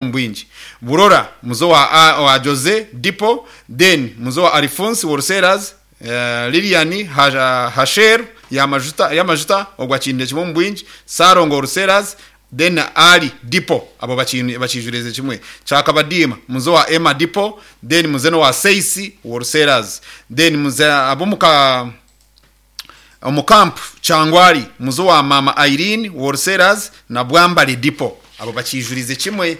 Omu bwingi. Burora, muze owa owa Jose, Dipo, then muze owa Alifunsi Wholesalers, Lilian Hasheru y'amajuta y'amajuta ogwo akiinire kimwe omu bwingi, Ssalongo Wholesalers, then na Ali Dipo abo bakiijurize kimwe. Kyakabadiima, muze owa Emma Dipo, then muze n'owa Seisi Wholesalers, then muze ab'omu ka. Omu Camp Kyangwali, muze owa Maama Irene Wholesalers na Bwambale Depot abo bakiijurize kimwe.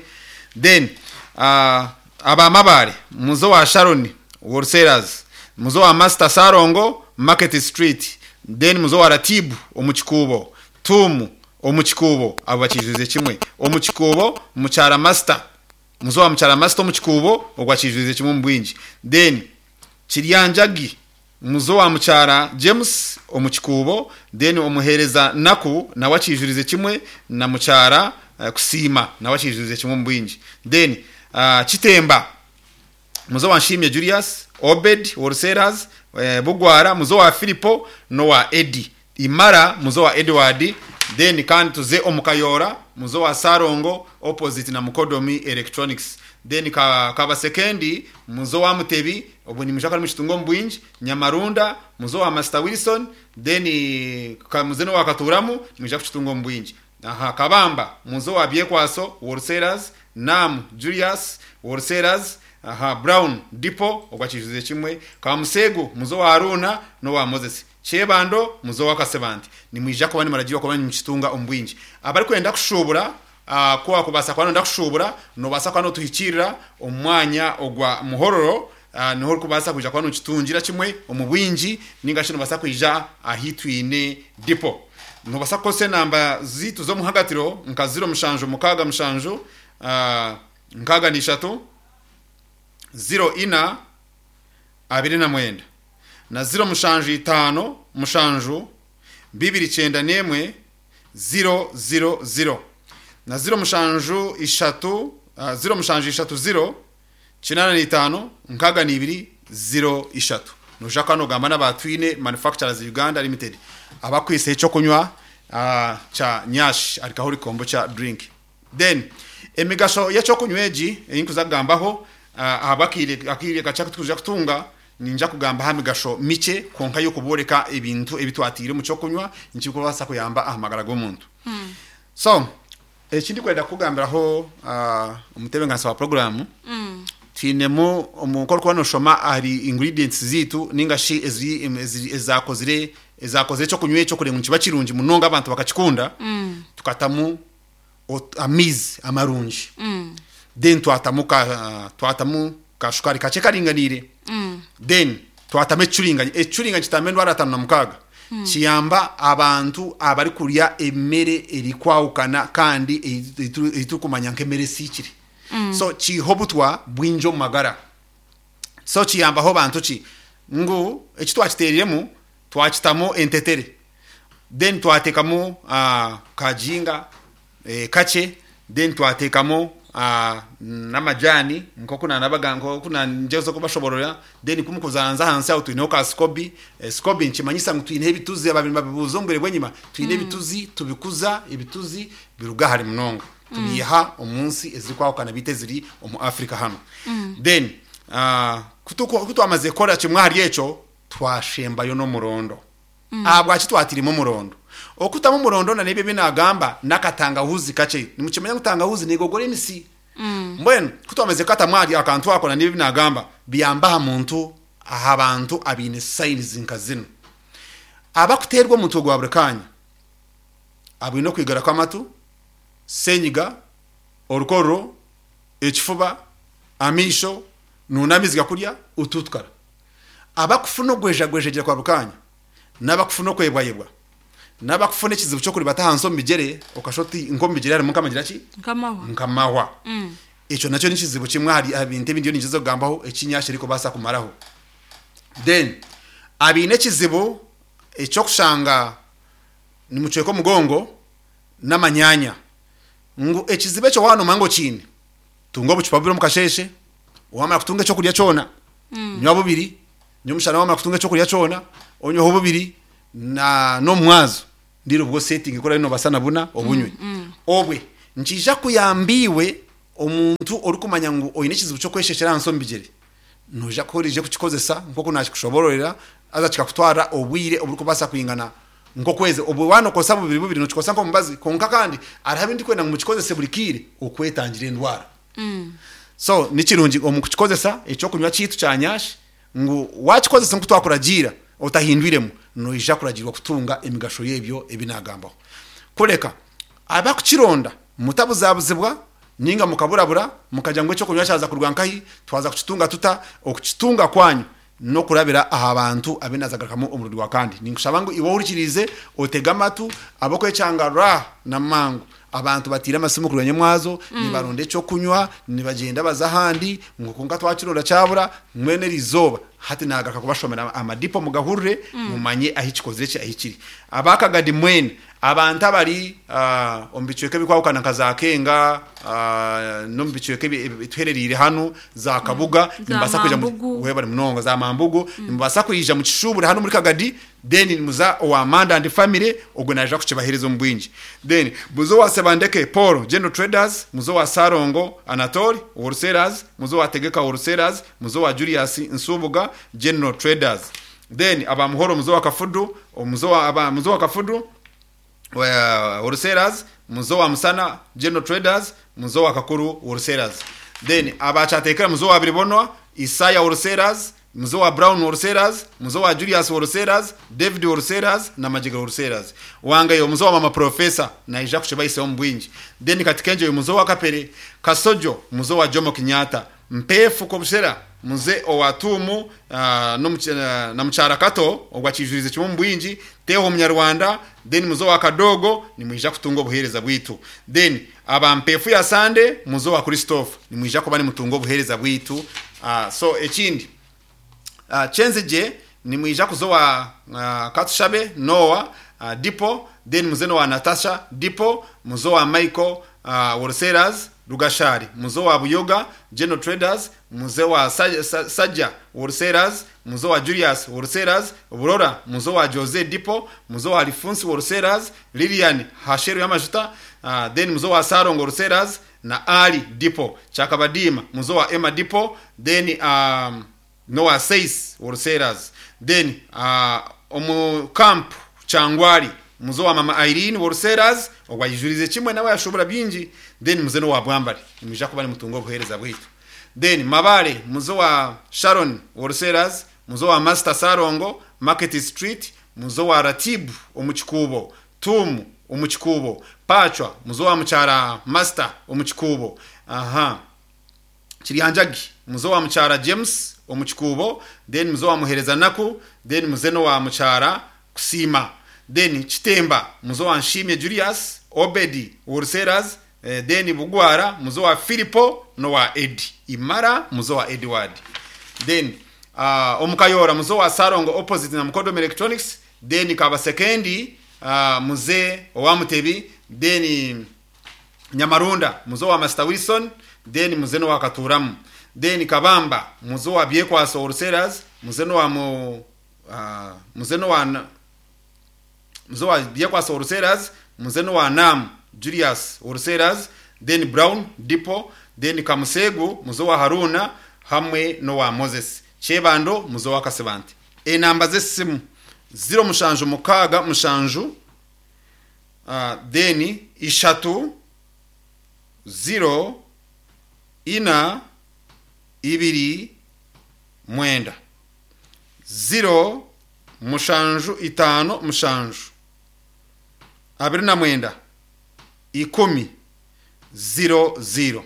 Then aba Mabaare, muze owa Sharon Wholesalers, muze owa Master Ssalongo Market Street, then muze owa Ratibu omu Kikuubo, Tuumu omu Kikuubo abo bakiijurize kimwe. Omu Kikuubo, Mukyara Master, muze owa Mukyara Master omu Kikuubo ogwo akiijurize kimwe omu bwingi. Then Kiryanjagi Muze owa mukyara James omu Kikuubo, then omuheereza Naku nawe akiijurize kimwe na mukyara Kusiima nawe akiijurize kimwe omu bwingi. Then Kitemba, muze owa Nshimye Julius, Obed Wholesalers, Bugwara, muze owa Philipo n'owa Eddy. Imara, muze owa Edward, then kandi tuze omu Kayoora, muze owa Ssalongo opposite na Mukodomi Electronics. Then ka Kabasekendi, muze owa Mutebi, obwo nimwija kuba nimukitunga omu bwingi, Nyamarunda, muze owa Master Wilson, then ka muze n'owa Katuuramu, nimwija kukitunga omu bwingi. Aha Kabamba, muze owa Byekwaso Wholesalers, Nam Julius Wholesalers, aha Brown Depot, ogwo akiijuze kimwe, Kamuseegu, muze owa Aruuna n'owa Moses. Kyebando, muze owa Kasebante. Nimwija kuba nimuragiirwa kuba nimukitunga omu bwingi. Abarikwenda kushuubura, ku waakubaasa kuba nooyenda kushuubura, noobaasa kuba nootuhikiirira omu mwanya ogwa Muhororo, niho orikubaasa kwija kuba nookitungira kimwe omu bwingi, nainga shi noobaasa kwija ahu twine dipo. Noobaasa kukozesa enamba zaitu z'omuhagatiro nka ziro mushanju mukaaga mushanju, 63, 04, 29 na 07 57 291 0 0 0 na 07 3 07 3 0 85 62 0 3. Noija kuba nogamba n'aba Twine Manufacturers Uganda Limited abakwitse eky'okunywa kya Nyash Alcoholic Kombucha Drink. Then emigasho y'ekyokunywa egi ei nkuza kugambaho ahabw'akaire akaire kakye aku tukuza kutunga, ninja kugamba aha migasho mikye kwonka y'okubooreka ebintu ebi twataire omu ky'okunywa nikikubaasa kuyamba aha magara g'omuntu. So eki ndikwenda kukugambiraho omutebeekanisa wa puroguraamu, twinemu omu ku orikuba nooshoma ahari ingredients zaitu nainga shi ezaakozire ezaakozire ekyokunywa ekyo kureeba ngu nikiba kirungi munonga abantu bakakikunda, tukatamu amaizi amarungi then twatamu ka twatamu ka shukaari kakye karinganiire then twatamu ekicuringanyi. Ekicuringanyi kitamba endwara 56. Kiyamba abantu abarikurya emere erikwahukana kandi ei turikumanya nk'emere esiikire. So kiiha obutwa bwingi omu magara. So kiyambaho bantu ki? Ngu eki twakiteeriremu twakitamu entetere then twateekamu ka jinga kakye then twateekamu n'amajaani nk'oku naanabaga nk'oku naangyezaho kubashoboororera then ku mukuzaanza ahansi aho twineho ka sikobi, sikobi nikimanyisa ngu twineho ebituzi abaabaire nibabibuuza omu bwire bw'enyima, twine ebituzi tubikuza ebituzi biruga hare munonga tubiiha omu nsi ezirikwahukana beitu eziri omu Africa hanu. Then ku twamazire kukora kimwe ahari ekyo, Twashembayo n'omurondo. Ahabwaki twatairemu omurondo? Okutamu omurondo na n'ebyo ebi naagamba n'akatangahuuzi kakye. Nimukimanya ngu tangahuuzi neegogora emisi. Mbwenu ku twamazire kukatamu akantu ako na n'ebyo ebi naagamba, biyamba aha muntu, aha bantu abaine signs nka zinu. Abakuteerwa omutwe gwa buri kaanya, abaine okwigara kw'amatu, senyiga, orukororo, ekifuba, amaisho, nuuna amaizi gakurya, otuutukara. Abakufuna ogwejagwejegyera kwa buri kaanya, n'abakufuna okwebwayebwa, n'abakufuna ekizibu ky'okuribata ahansi omu bigyere, okashusha oti nk'omu bigyere harimu nk'amagira ki? Nk'amahwa. Nk'amahwa. Ekyo nakyo nikizibu kimwe ahari aha bintu ebi ndiyo ningyezaho kugambaho eki nyashi erikubaasa kumaraho. Then abaine ekizibu eky'okushanga nimucweka omugongo n'amanyaanya, ngu ekizibu ekyo waaba noomanya ngu okiine, tunga obucupa bubiri omu kasheeshe, Waamara kutunga ekyokurya kyona, nywa bubiri, nyomushana waamara kutunga ekyokurya kyona, onyweho bubiri na n'omu mwazo ndiire obwo osetinge ku oraabe noobaasa na buna obunywe. Obwe nikiija kuyamba iwe. Omuntu orikumanya ngu oine ekizibu ky'okweshekyera ahansi omu bigyere, noija kuba orije kukikozesa nk'oku naakikushoboororera, haza kikakutwarira obwire oburikubaasa kwingana nk'okwezi. Obwo waaba nookozesa bubiri bubiri, nookikozesa nk'omubazi. Kwonka kandi hariho ebi ndikwenda ngu mukikozese buri kaire okwetangira endwara. So ni kirungi omu kukikozesa eky'okunywa kyaitu kya nyashi ngu waakikozesa nk'oku twakuragiira otahindwiremu, noija kuragiirwa kutunga emigasho y'ebyo ebi naagambaho. Kureka abakukironda mutabuzabuzibwa ninga mukaburabura mukagira ngu eky'okunywa kyaza kuruga nkahi, twaza kukitunga tuta? Okukitunga kwanyu n'okurabira aha bantu abu naazagarukamu omurundi gwa kandi. Ninkushaba ngu iwe ohurikiriize otege amatu ab'okwekyanga ra na mangu. Abantu bataire amasimu kuruga nyomwazo nibaronda eky'okunywa, nibagyenda baza ahandi ngu kwonka twakironda kyabura, mbwenu eri izooba hati naagaruka kubashomera amadipo mugahurire mumanye ahi kikozire ki ahi kiri. Aba Kagadi mwena Abantu abari omu bicweka ebirikwahukana nka za Kenga n'omu bicweka ebituherereire hanu za Kabuga Za nimubaasa kwija Mambugu. webare munonga za Mambugu nimubaasa kwija mukishuubure hanu omuri Kagadi then nimuza owa Manda and Family ogwo naija kukibaheereza omu bwingi. Then muze owa Sebandeke Paul General Traders, muze owa Ssalongo Anatole Wholesalers, muze owa Tegeka Wholesalers, muze owa Julius Nsubuga General Traders. Then aba Muhoro muze owa Kafudu, muze owa aba muze owa Kafudu Wholesalers, muze owa Musana General Traders, muze owa Kakuru Wholesalers. Then aba Kyateekera muze owa Biribonwa, Isaya Wholesalers, muze owa Brown Wholesalers, muze owa Julius Wholesalers, David Wholesalers na Magyega Wholesalers. Wangayo muze owa Mama Professor naija kukibahisaho omu bwingi. Then Katikengyeyo muze owa Kapere, Kasojo muze owa Jomo Kenyatta, Mpeefu Kobushera muze owa Tuumu na mukyara Kato ogwo akiijuriize kimwe omu bwingi, Teeho Omunyarwanda, then muze owa Kadogo nimwija kutunga obuheereza bwaitu. Then aba Mpeefu ya Sande muze owa Christophe nimwija kuba nimutunga obuheereza bwaitu. So ekindi Kyenzigye nimwija kuza owa Katushabe Noah Dipo, then muze n'owa Natasha Dipo, muze owa Michael Wholesalers, Rugashari, muze owa Buyoga General Traders, muze owa Sajja Wholesalers, muze owa Julius Wholesalers, Burora, muze owa Jose Dipo, muze owa Lifunsi Wholesalers, Lilian Hasheru y'amajuta, then muze owa Salongo Wholesalers na Ali Dipo, Kyakabadiima, muze owa Emma Dipo, then n'owa Seis Wholesalers, then omu Camp Kyangwali muze owa Mama Irene Wholesalers, ogwo ayijuriize kimwe nawe yashuubura bingi, then muze n'owa Bwambare nimwija kuba nimutunga obuheereza bwaitu. Then Mabale muze owa Sharon Wholesalers, muze owa Master Salongo, Market Street, muze owa Ratibu omu Kikuubo, Tuumu omu Kikuubo, Pacwa muze owa Mukyara Master omu Kikuubo, aha. Kiryanjagi, muze owa Mukyara James omu Kikuubo, then muze owa Muhereza Naku, then muze n'owa Mukyara Kusiima, then Kitemba, muze owa Nshimye Julius, Obedi Wholesalers, then Bugwara, muze owa Philipo n'owa Eddy Imara, muze owa Edward, then omu Kayoora, muze owa Salongo opposite na Mukodomi Electronics, then Kabasekendi, muze owa Mutebi, then Nyamarunda muze owa Masita Wilson then muze n'owa Katuuramu then Kabamba muze owa Byekwaso Wholesalers muze n'owa mu muze n'owa muze owa Byekwaso Wholesalers muze n'owa Nam Julius Wholesalers then Brown Depot then Kamuseegu muze owa Haruna hamwe n'owa Moses Kyebando muze owa Kasibante. Enamba z'esimu 07 67 then ishatu, ziro, ina, ibiri, mwenda. Ziro, mushanju, itaano, mushanju, 29, ikumi, ziro, ziro.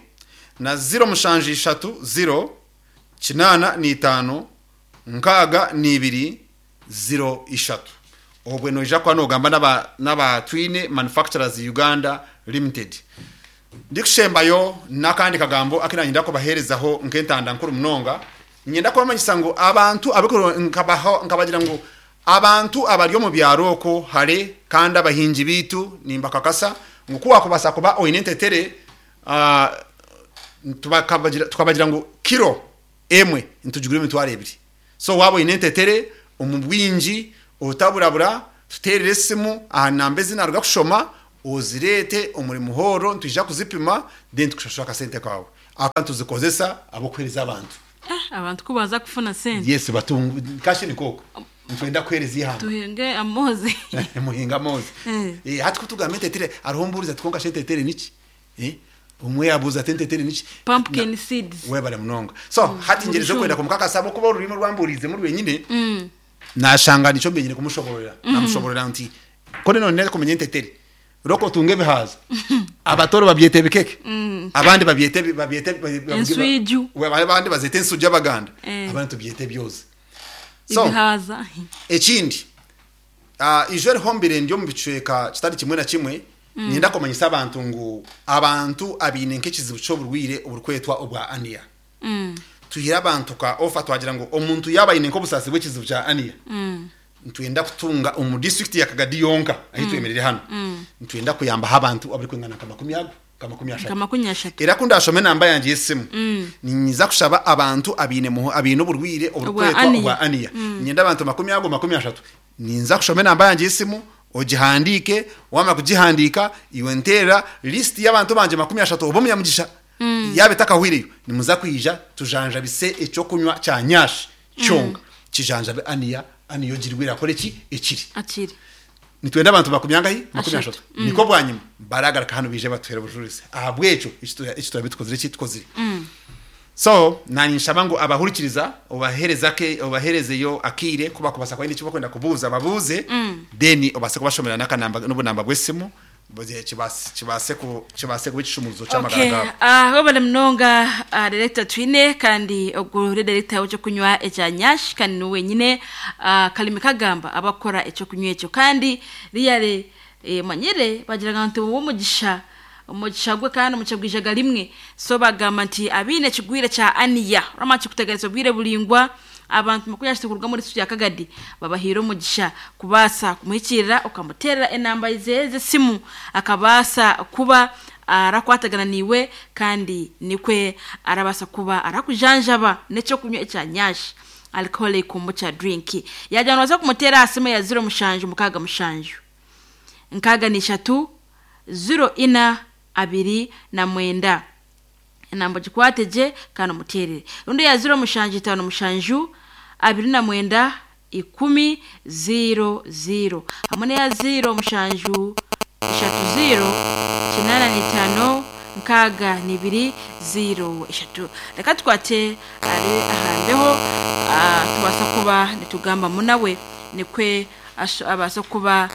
Na ziro, mushanju, ishatu, ziro, 85, 62, 03. Obwe noija kuba nogamba n'aba n'aba Twine Manufacturers Uganda Limited. Ndikushembayo n'akandi kagambo aku nanyenda kubaheerezaho nk'entanda nkuru munonga, niinyenda kubamanyisa ngu abantu abu nkabaha nkabagira ngu abantu abari omu byaro okwo hare kandi abahingi baitu nimbakakasa ngu ku wakubaasa kuba oine entetere tukabagira ngu kiro emwe nitugigura emitwaro ebiri. So waaba oine entetere omu bwingi otaburabura, tuteerere esimu aha namba ezi naaruga kushoma Ozireete omuri Muhoro nitwija kuzipima then tukushashure akasente kaawe. Aka nituzikozesa ahabw'okuheereza abantu. Eh, abantu ku baaza kufuna sente. Yes, batunga kashi nikooko. Nitwenda kuheereza eihanga. Tuhinge amoozi. Muhinge amoozi. Eh. Eh, hati ku tugamba entetere hariho ombuuriza ati kwonka shi entetere niki? Eh, omwe yaabuuza ati entetere niki? Pumpkin seeds. Webare munonga. So, hati ngyerize Omushumba. kwenda kumukakasa ahabw'okuba orurimi orwambuuriizemu rwenyine, Nashanga nikyo mbenyine kumushobororera. Namushobororera nti, Ku nonenda kumanya entetere, rooka otunge ebihaaza. Abatooro babyeta ebikeke, abandi babyeta ebi- babyeta ebi- Enswiju. We- abandi bazeta ensuju Abaganda, Eh. abandi tubyeta ebyozi. So, Ebihaaza. ekindi, ah, ijo eriho mbire ndi omu bicweka kitari kimwe na kimwe, niinyenda kumanyisa abantu ngu abantu abaine nk'ekizibu ky'oburwaire oburikwetwa obwa aniya. Tuhire abantu ka ofa twagira ngu omuntu yaaba aine nk'obusaasi bw'ekizibu kya aniya, nitwenda kutunga omu disiturikiti ya Kagadi yonka ahu twemereire hanu, nitwenda kuyambaho abantu abarikwingana nka makumi ago, nka 30. Nka 30. Era ku ndaashome enamba yangye y'esimu, niinyija kushaba abantu abaine abaine oburwaire oburikwetwa obwa aniya. Niinyenda abantu makumi ago 30. Ninza kushoma enamba yangye y'esimu, ogihandiike, waamara kugihandiika, iwe nteerera lisiti y'abantu bangye 30 obe omunyamugisha. Yaaba etakahweireyo, nimuza kwija tujanjabise eky'okunywa kya nyash kyonka, kijanjabe aniya, aniya ogirwaire akore ki? Ekire. Akire. Nitwenda abantu makumi angahi? Makumi Ashatu. ashatu. Nikwo bwanyima baragaruka hanu baije batuhere obujurizi ahabw'ekyo eki turabe tukozire ki? Tukozire. So naanye nshaba ngu abahurikiriza obahereze ake obaherezeyo akaire ku bakubaasa kuba baine eki bakwenda kubuuza babuuze then obaase kubashomera n'akanamba n'obunamba bw'esimu kibaase kibaase ku kibaase kuba ekishumuruzo ky'amagara Okay, gaabo. ah, webale munonga ah, director Twine kandi ogu ni director w'ekyokunywa ekya Nyash kandi niwe wenyine ah, Kalimi Kagamba abakukora ekyokunywa ekyo kandi really eh, manyire bagiraga nti omugisha Omugisha gwe kandi omugisha gwijaga rimwe. So bagamba nti abaine ekigwire kya aniya, oramanya kikuteganisa obwire buraingwa, abantu 30 kuruga omuri district ya Kagadi babahaire omugisha kubaasa kumuhikiirira okamuteerera enamba ze z'esimu akabaasa kuba arakwatagana naiwe kandi nikwe arabaasa kuba arakujanjaba n'ekyokunywa ekya nyash alcoholic kombucha drink. Yaagira ngu noobaasa kumuteera aha simu eya ziro mushanju mukaaga mushanju nkaaga n'ishatu ziro ina 29. Enamba ogikwate gye kandi omuteerere. Rundi eya ziro mushanju itaano mushanju 29 10 ziiro ziiro hamwe n'eya ziiro mushanju ishatu ziiro 85 62 ziiro ishatu. Reka tukwate ari aha mbeho tubaasa kuba nitugambamu nawe nikwe abaase kuba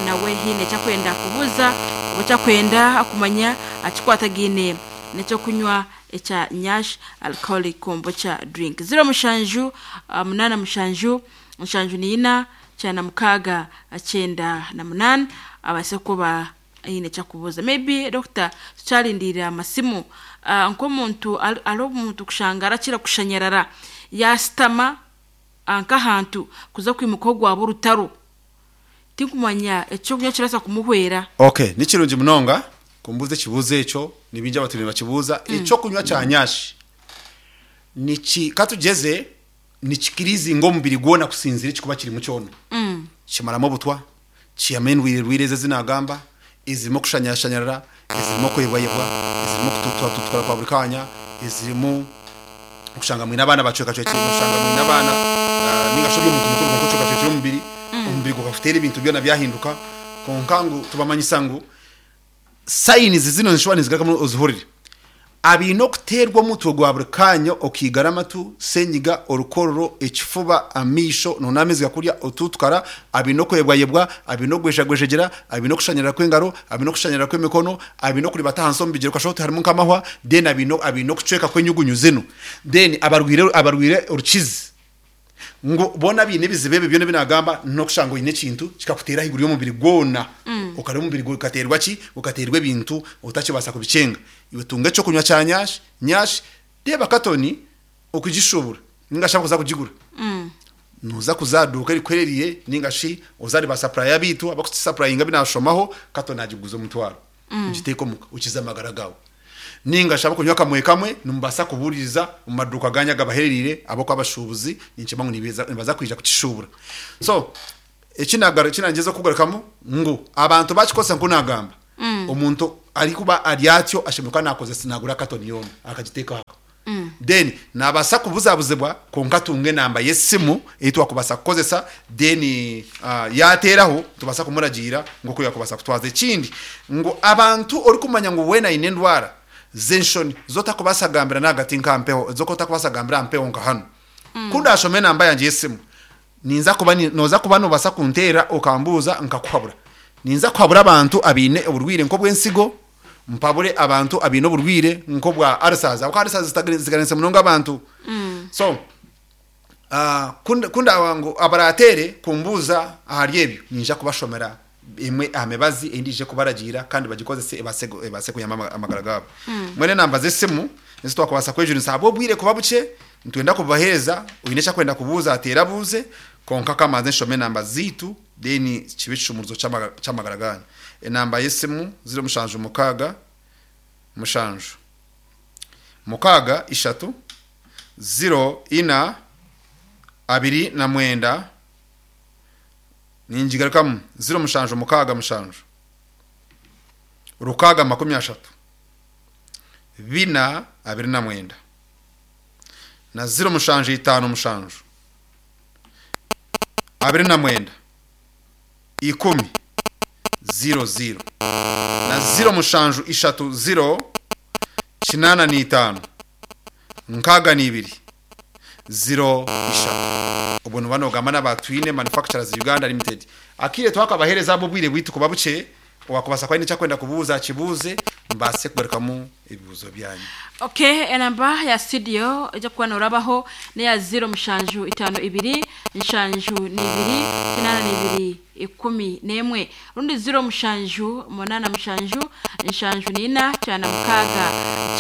nawe haine eki akwenda kubuuza oba eki akwenda kumanya akikwatagaine n'ekyokunywa ekya Nyash Alcoholic Kombucha Drink. 07 87 74 96 98 abaase kuba aine eki akubuuza. Maybe doctor tukyarindiirira amasimu, nk'omuntu hariho omuntu kushanga arakira kushanyarara yaashutama nk'ahantu kuza kwimuka ogwaba orutaro. Tinkumanya ekyokunywa ekirabaasa kumuhwera. Ok, ni kirungi munonga kumbuuza ekibuuzo ekyo, ni baingi abatwire nibakibuuza. Ekyokunywa kya nyashi niki, ka tugyeze nikikirizinga omubiri gwona kusinziira ekirikuba kirimu kyona. Kimaramu obutwa, kiihamu endwire ezi ezi naagamba, ezirimu okushanyashanyarara, ezirimu okwebwayebwa, ezirimu okututukara kwa buri kaanya, ezirimu okushanga mwine abaana bacwekacwekire, noshanga mwine abaana ninga shi ori omuntu mukuru kwonka ocwekacwekire omubiri, omubiri gukakuteera ebintu byona byahinduka, kwonka ngu tubamanyisa ngu Signs zinu nizishuba nizigarukamu ozihurire. Abaine okuteerwa omutwe gwa buri kaanya, okaigara amatu, senyiga, orukororo, ekifuba, amaisho, noona amaizi gakurya, otuutukara, abaine okwebwayebwa, abaine okugwejagwejegyera, abaine okushanyarara kw'engaro, abaine okushanyarara kw'emikono, abaine okuribata ahansi omu bigyere okashusha oti harimu nk'amahwa, then abaine abaine okucweka kw'enyugunyu zinu, then abarwaire abarwaire orukizi. Ngu boona abaine ebizibu ebyo byona ebi naagamba, n'okushanga oine ekintu kikakuteera ahaiguru y'omubiri gwona, okareeba omubiri gukateerwa ki? Gukateerwa ebintu otakibaasa kubikyenga. Iwe tunga eky'okunywa kya nyash, nyash, reeba katoni okugishuubura nainga shi abakuza kugigura, nooza kuza aha duuka erikuherereire nainga shi oze ahari baasapuraya baitu abarikutusapurayinga abu naashomaho, katoni agikuguza omutwaro, ogiteeke omuka okize amagara gaawe. Nainga shi abarikunywa kamwe kamwe nimubaasa kubuuririza omu maduuka gaanyu agabaherereire ahabw'okuba abashuubuzi ninkimanya ngu nibaza kwija kukishuubura. So eki naagyezaho kugarukamu ngu abantu baakikozesa nk'oku naagamba. Omuntu arikuba ari atyo ashemereire kuba nakozesa nagura katoni yoona akagiteeka aho. Then nabaasa kubuzabuzibwa kwonka atunge enamba y'esimu ei twakubaasa kukozesa then yateeraho nitubaasa kumuragiira ngu oku yakubaasa kutwaza. Ekindi ngu abantu orikumanya ngu weena aine endwara z'enshoni z'otakubaasa kugambira n'ahagati nka mpeho z'oku otakubaasa kugambira aha mpeho nka hanu. Ku ndaashome enamba yangye y'esimu ninza kuba nooza kuba noobaasa kunteerera okambuuza nkakuhabura. Ninza kuhabura abantu abaine oburwaire nk'obw'ensigo, mpabure abantu abaine oburwaire nk'obwa ulcers ahabw'okuba ulcers ziganise munonga abantu. So ku ndaaba ngu abaraateere kumbuuza ahari ebyo, niinyija kubashomera emwe aha mibazi ei ndiije kubaragiira kandi bagikozese ebaase kuyamba amagara gaabo. Mbwenu enamba z'esimu ezi twakubaasa kwejunisa ahabw'obwire kuba bukye, nitwenda kububaheereza, oine eki arikwenda kubuuza ateere abuuze, kwonka ka mbanze nshome enamba zaitu then kibe ekishumuruzo ky'amagara gaanyu. Enamba y'esimu ziro mushanju mukaaga mushanju mukaaga ishatu ziro ina abiri na mwenda, ningigarukamu ziro mushanju mukaaga mushanju rukaaga makumi ashatu bina abiri na mwenda na ziro mushanju itaano mushanju 29 10 00 na 07 30 85 62 03. Obwo noba nogamba n'aba Twine Manufacturers Uganda Limited. Akaire twakabaheereza ahabw'obwire bwaitu kuba bukye, Owaakubaasa kuba aine eki arikwenda kubuuza akibuuze, mbaase kugarukamu ebibuuzo byanyu. Ok, enamba ya studio ejya kuba norabaho neya ziro mushanju itano ibiri nshanju n'ibiri kinana n'ibiri ikumi n'emwe rundi ziro mushanju munana mushanju nshanju n'ina kyana mukaaga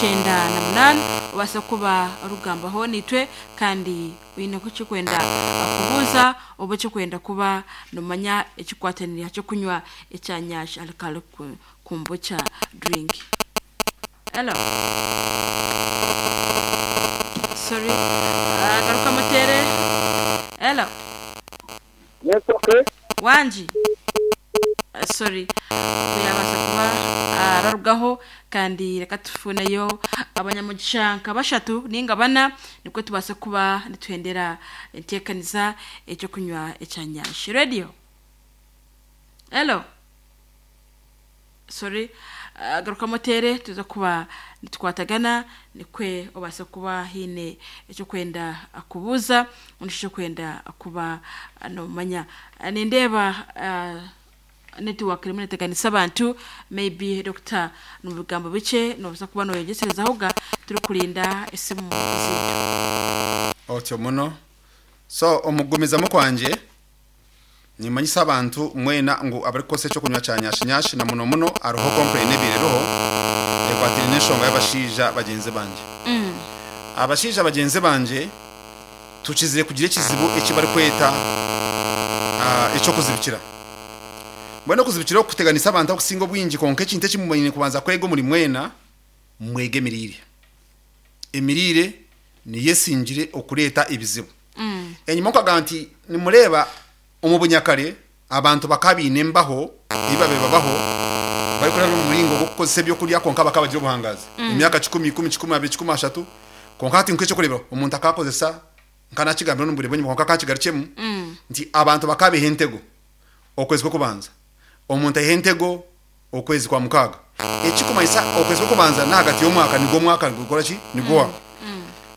kyenda na munana obase kuba orugambaho nitwe kandi Oine ku ekikwenda kubuuza oba ekikwenda kuba nomanya ekikwatanire aha kyokunywa ekya Nyash Alcoholic Kombucha Drink. Hello. Sorry. Garuka muteere. Hello. Yes, okay. Wangi. Sorry. Ogu yabaasa kuba ararugaho kandi reka tufuneyo abanyamugisha nka bashatu ninga bana nikwo tubaase kuba nituhendera enteekaniza ekyokunywa ekya Nyash Radio. Hello. Sorry. Garukamu oteere tuza kuba nitukwatagana nikwe obaase kuba haine ekyokwenda kubuuza ondi ekyokwenda kuba nomanya. Nindeeba network erimu neteganisa abantu maybe doctor omu bigambo bikye nobaasa kuba noyegyeserezahoga turikurinda esimu zeitu. Otyo muno. So omu kugumizamu kwangye, nimanyisa abantu mwena ngu abarikukozesa ekyokunywa kya nyashi nyashi na muno muno hariho complain ebaire eriho ekwataine n'enshonga y'abashaija bagyenzi bangye. Abashaija bagyenzi bangye tukizire kugira ekizibu eki barikweta eky'okuzibikira. Mbwenu okuzibikira oku kuteganisa abantu abakusinga obwingi kwonka ekintu eki mwine kubanza kwega omuri mwena, mwege emiriire. Emiriire niyo esingire okureeta ebizibu. Enyima nkagamba nti nimureeba omu bunyakare abantu bakaba baine embaho ei babaire babaho barikurabira omu muringo gw'okukozesa ebyokurya kwonka bakaba bagira obuhangaazi emyaka kikumi, ikumi, kikumi abiri, kikumi ashatu. Kwonka hati nk'ekyokureeberaho omuntu akakozesa nka nakigambire omu bwire bw'enyima kwonka kankigarukyemu nti abantu bakaba baiha entego okwezi kw'okubanza omuntu aiha entego okwezi kwa mukaaga. Ekikumanyisa okwezi kw'okubanza n'ahagati y'omwaka nigwo omwaka nigukora ki? Niguhwaho.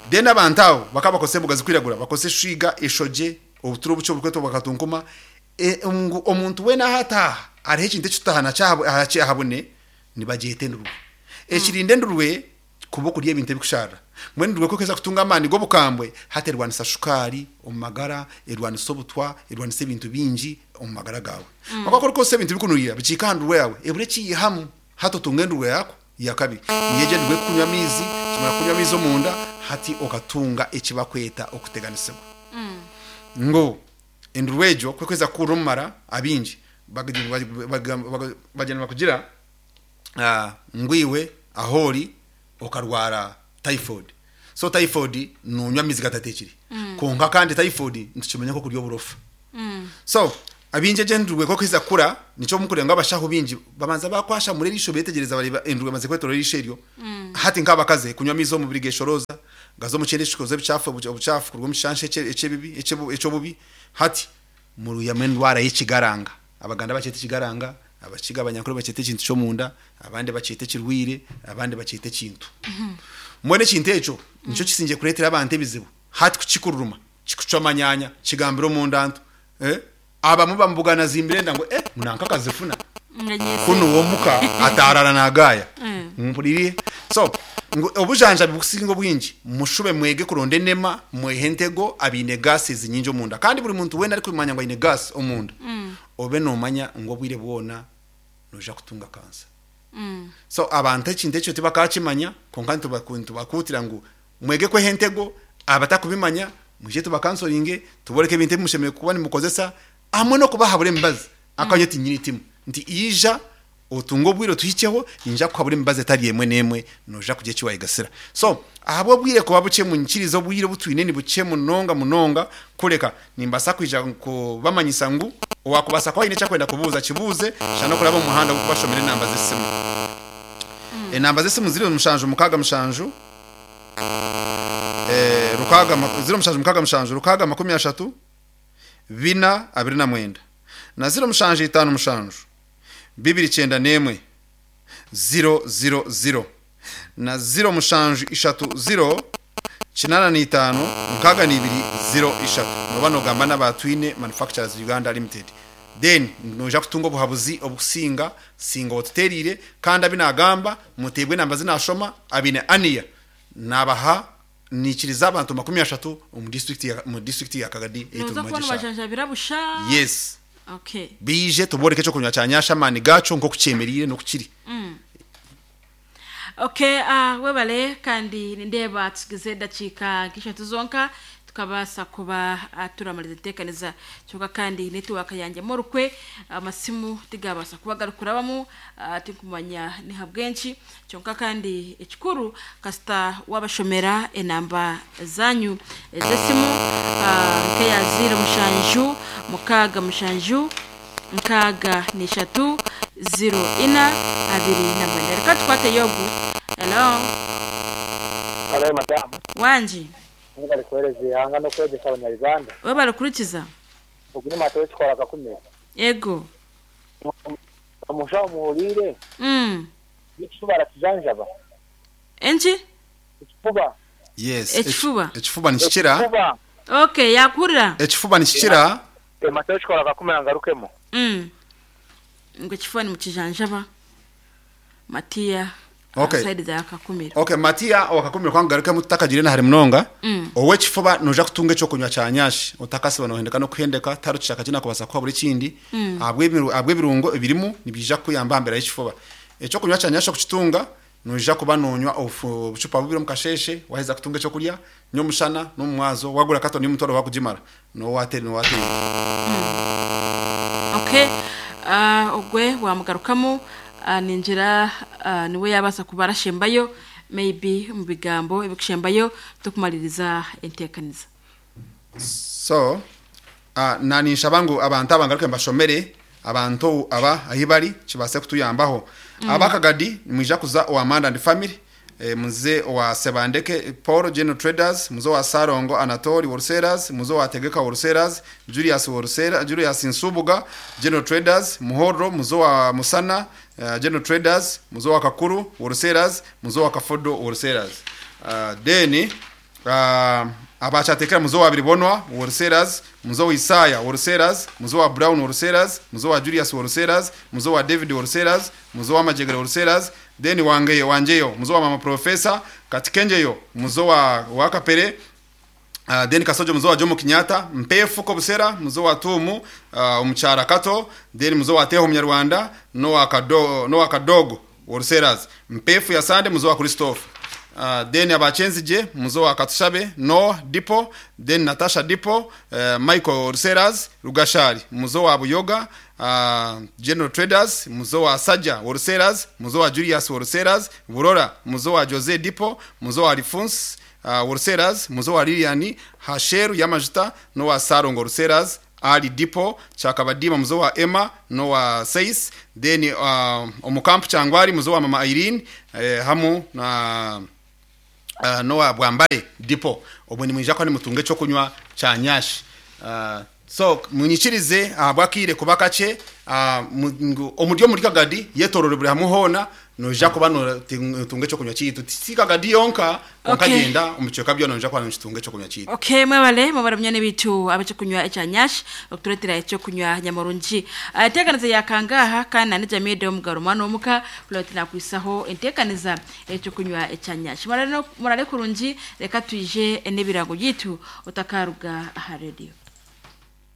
Then abantu abo bakaba bakozesa emboga zirikwiragura, bakozesa eshwiga, eshogye, obuturo obukye oburikwetwa bwakatunkuma, ngu omuntu weena ahu ataaha hariho ekintu eki tutaaha nakyo ahabune, nibagyeta endurwe. Ekirinda endurwe kuba okurya ebintu ebikusharira. Mbwenu endurwe ku erikuheza kutunga amaani g'obukambwe, hati erwanisa shukaari omu magara, erwanisa obutwa, erwanisa ebintu bingi omu magara gaawe. Kwonka ku orikukozesa ebintu birikunurira bikihika aha ndurwe yaawe, ebura ekiihamu, hati otunga endurwe yaako ya kabiri. Niyo egyo endurwe erikukunywa amaizi, ekimara kukunywa amaizi omunda, hati okatunga eki barikweta okuteganisibwa. Ngu endurwe egyo ku erikuheza kukurira omu mara, abaingi bagyenda nibakugira ngu iwe ahu ori okarwara typhoid. So typhoid nonywa amaizi gatatekire. Kwonka kandi typhoid nitukimanya nk'okurya oburofa. So. Abingi egyo endurwe ku erikuheza kukura, nikyo murikureeba ngu abashaho baingi babanza baakwashamura eriisho beetegyereza bareeba endurwe emaze kwetooroora eriisho eryo. Hati nk'abakazi, kunywa amaizi omubiri geeshorooza, gaza omu kyenda ekikoza ebicaafu obucaafu kuruga omu kishansha eky'ebibi eky'obubi. Hati muruhyamu endwara y'ekigaranga. Abaganda bakyeta ekigaranga, Abakiga Abanyankore bakyeta ekintu ky'omunda, abandi bakyeta ekirwaire, abandi bakyeta ekintu. Mbwenu ekintu ekyo nikyo kisingye kureetera abantu ebizibu. Hati ku kikururuma, kikucwa amanyaanya, kigambira omunda ntu, eh, abamwe bamubugana azimbire enda ngu eh, ngu nanka akazifuna. Kunu we omuka ataarara naagaaya. Mumpuririire? So, ngu obujanjabi bukusinga obwingi, mushube mwege kuronda enema, mwehe entego abaine gases nyingi omunda. Kandi buri muntu weena arikumanya ngu aine gas omunda, obe noomanya ngu obwire bwona noija kutunga kansa. So, abantu ekintu ekyo tibakaakimanya, kwonka nitubakuutira ngu Mwege kweha entego, abatakubimanya mwije tubakansoringe, tuboreke ebintu ebi mushemereire kuba nimukozesa hamwe n'okubahabura emibazi. Ahakuba nyowe tinyine itimu nti ija otunge obwire otuhikyeho, ninyija kukuhabura emibazi etari emwe n'emwe noija kugira eki wayegasira. So ahabw'obwire kuba bukye munyikirize obwire obu twine ni bukye munonga munonga kureka nimbaasa kwija kubamanyisa ngu owakubaasa kuba aine eki akwenda kubuuza akibuuze shana okuraba omu muhanda gw'okubashomera enamba z'esimu. Enamba z'esimu ziri mushanju mukaaga mushanju. Rukaaga, ziro mushanju mukaaga mushanju, rukaaga 30, bina 29, na ziro mushanju itaano mushanju, bibiri 91, ziro ziro ziro, na ziro mushanju ishatu ziro, 85, 62, ziro ishatu. Nooba noogamba n'aba Twine Manufacturers Uganda Limited. Then noija kutunga obuhabuzi obukusinga singa otutereire kandi abi nagamba muteebwe enamba zi nashoma abaine ania nabaha nikiriza abantu 30 omu district ya mu district ya Kagadi ei Noza turimu kuba egi eshaaha. nibajanjabira busha. Yes. Okay. Baije tubooreke ekyokunywa kya Nyasha amaani gaakyo nkoku kyemereire noku kiri. Okay, ah, webale kandi nindeeba tusigize edakiika nk'ishatu zonka tukabaasa kuba ah, turamaliza enteekaniza kyonka kandi netiwaaka yangyemu orukwe amasimu tigabaasa kuba garikurabamu ah, tinkumanya ni habw'enki kyonka kandi ekikuru kasita wabashomera enamba zanyu ez'esimu ah, nk'eya ziiro mushanju mukaaga mushanju 63 0 ina 29. Reka tukwateyo ogu. Hello. Hello madamu. Wangi. Mwebale kuhereza eihanga n'okwegyesa abanya Uganda. Webale kuhurikiza. Ogu ni Mata w'ekikora Kakumiro. Ego. Omushaho muhuriire? N'ekifuba arakijanjaba? Enki? Ekifuba. Yes. Ekifuba. Ekifuba nikikira. Ekifuba. Okay, yakuhurira. Ekifuba nikikira. Mata w'ekikora Kakumiro angarukemu. Ngu ekifuba nimukijanjaba. Matiya Okay. aha side za Kakumiro. Okay, Matiya owa Kakumiro ka nkugarukemu tutakagiire na hare munonga. Ow'ekifuba noija kutunga eky'okunywa kya nyashi otakasiba nohendeka n'okuhendeka tihariho kishaka eki nakubaasa kukuha buri ekindi ahabw'ebirungo ebirimu nibiija kukuyamba aha mbeera y'ekifuba. Eky'okunywa kya nyashi okukitunga Noija kuba noonywa obucupa bubiri omu kasheeshe waaheza kutunga eky'okurya, nyomushana n'omu mwazo. Waagura katoni y'omutwaro waakugimara, noowa wateire. Okay, ogwe waamugarukamu ningira niwe yaabaasa kuba arashembayo maybe omu bigambo ebikushembayo tukumariiriza enteekaniza. So, na ninshaba ngu abantu aba ngaruke mbashomere abantu aba ahi bari kibaase kutuyambaho. Aba Kagadi nimwija kuza owa Manda and Family, muze owa Sebandeke Paul General Traders, muze owa Ssalongo Anatoli Wholesalers, muze owa Tegeka Wholesalers, Julius Wholesaler, Julius Nsubuga General Traders, Muhorro, muze owa Musana General Traders, muze owa Kakuru Wholesalers, muze owa Kafodo Wholesalers. Then Abakyateekera muze owa Biribonwa Wholesalers, muze owa Isaaya Wholesalers, muze owa Brown Wholesalers, muze owa Julius Wholesalers, muze owa David Wholesalers, muze owa Majegere Wholesalers, then Wangeyo Wangyeyo, muze owa Mama Professor, Katikenjeyo, muze owa owa Kapere, then Kasojo muze owa Jomo Kenyatta, Mpeefu Kobusera, muze owa Tuumu, Omukyara Kato, then muze owa Teeho Munyarwanda, n'owa Kado n'owa Kadogo Wholesalers, Mpeefu ya Sande muze owa Christophe. Then aba Kyenzigye muze owa Katushabe, Noah Dipo, then Natasha Dipo, Michael Wholesalers, Rugashari muze owa Buyoga, General Traders muze owa Saja Wholesalers, muze owa Julius Wholesalers, Burora muze owa Jose Dipo, muze owa Alphonse Wholesalers, muze owa Lilian Hasheru y'amajuta n'owa Sarongo Wholesalers. Ali Dipo Kyakabadiima muzo wa Emma nowa Seis, then omu kampu Kyangwari muzo wa mama Irene, hamu na nowa Bwambare Dipo. Obwo nimwija kuba nimutunga ekyokunywa kya Nyash. So munyikirize ahabw'akaire kuba kakye, ngu omuri omuri Kagadi yetorore buri hamwe hoona noija kuba notunga ekyokunywa kyaitu. Ti Kagadi yonka, kwonka gyenda omu bicweka byona noija kuba nokitunga ekyokunywa kyaitu. Okay, mwebale mwebale munywani bitu ab'ekyokunywa ekya Nyash okuturetera ekyokunywa nyamurungi. Enteekaniza ya kangaha kandi na Jamie Omugaro omwana w'omuka kureba ati nakwisaho enteekaniza ekyokunywa ekya Nyash. Murare kurungi, reka twije n'ebirango byaitu otakaruga aha radio.